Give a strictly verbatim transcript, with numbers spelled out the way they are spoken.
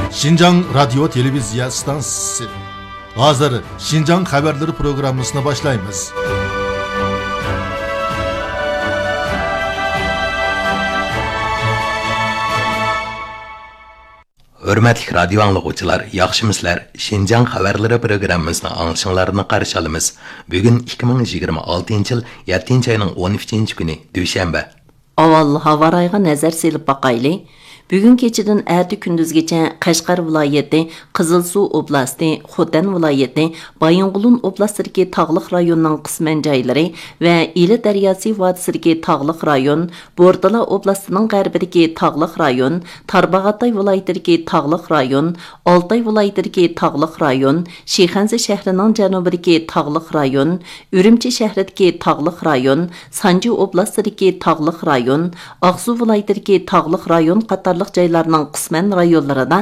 شىنجاڭ رادىيو تېلېۋىزىيە ئىستانسىسى. ھازىر شىنجاڭ خەۋەرلىرى پروگراممىسىنى باشلايمىز. ھۆرمەتلىك رادىيو ئاڭلىغۇچىلار، ياخشىمۇسىلەر؟ شىنجاڭ خەۋەرلىرى پروگراممىسىنى ئاڭلىشىڭلارنى قارشى ئالىمىز. بۈگۈن ئىككى مىڭ يىگىرمە ئالتىنچى يىل يەتتىنچى ئاينىڭ ئون ئۈچىنچى كۈنى، دۈشەنبە. ئاۋۋال ھاۋا رايىغا نەزەر سېلىپ باقايلى. بۈگۈن كېچىدىن ئەتە كۈندۈزگىچە قەشقەر ۋىلايىتى، قىزىلسۇ ئوبلاستى، خوتەن ۋىلايىتى، بايىنغولىن ئوبلاستىدىكى تاغلىق رايوننىڭ قىسمەن جايلىرى ۋە ئىلى دەرياسى ۋادىسىدىكى تاغلىق رايون، بورتالا ئوبلاستىنىڭ غەربىدىكى تاغلىق رايون، تارباغاتاي ۋىلايىتىدىكى تاغلىق رايون، ئالتاي ۋىلايىتىدىكى تاغلىق رايون، شىخەنزە شەھىرىنىڭ جەنۇبىدىكى تاغلىق رايون، ئۈرۈمچى شەھىرىدىكى تاغلىق رايون، سانجى ئوبلاستىدىكى تاغلىق رايون، ئاقسۇ ۋىلايىتىدىكى تاغلىق رايون قاتارلىق جايلارنىڭ قىسمەن رايونلىرىدا